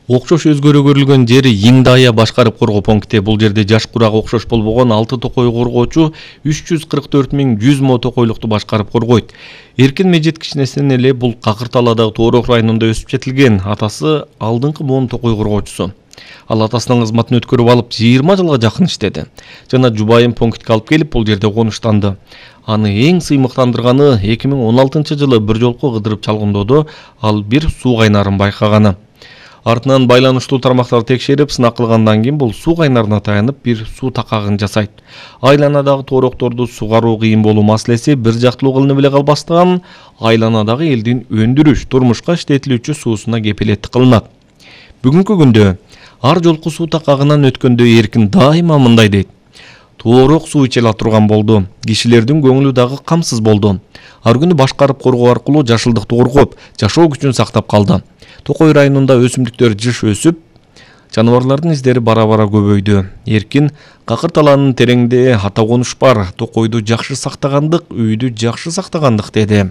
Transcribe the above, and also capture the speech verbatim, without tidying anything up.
Окшош өзгөрө көрүлгөн жери Иңдая башкарып коргоо пункти. Бул жерде жаш курак окшош болбогон алты токой коргоочу үч жүз кырк төрт миң жүз мо токойлукту башкарып коргойт. Эркин Мejit кичинесинен эле бул Какыр Талаадагы Тоорок районунда өсүп жетилген. Атасы алдыңкы буун токой коргоочусу. Ал атасынын кызматын өткөрүп алып жыйырма жылга жакын иштеди. Жана жубайын пунктке алып келип бул жерде конуштанды. Аны эң сыймыктандырганы эки миң он алтынчы жылы бир жолку кыдырып чалгындоодо ал бир суу кайнарын байкаганы. Артынан байланыштуу тармактар текшерип, сынак кылгандан кийин бул суу кайнарына таянып бир суу такагын жасайт. Айланадагы тоорокторду сугаруу кыйын болуу маселеси бир жактылуу кылынып эле калбастан, айланадагы элдин өндүрүш, турмушка иштетилүүчү суусуна кепилеттик кылынат. Бүгүнкү күндө ар жолку суу такагынан өткөндө Эркин дайыма мындай дейт: Тоорок суу иче ала турган болду. Кишилердин көңүлү дагы камсыз болду. Ар күнү башкарып коргоо аркылуу жашылдыкты коргоп, жашоо күчүн сактап калды. Токой районунда өсүмдүктөр жыш өсүп, жаныбарлардын издери бара-бара көбөйдү. Эркин Какыр Талаанын тереңде ата конуш бар, токойду жакшы сактагандык, үйдү жакшы сактагандык деди.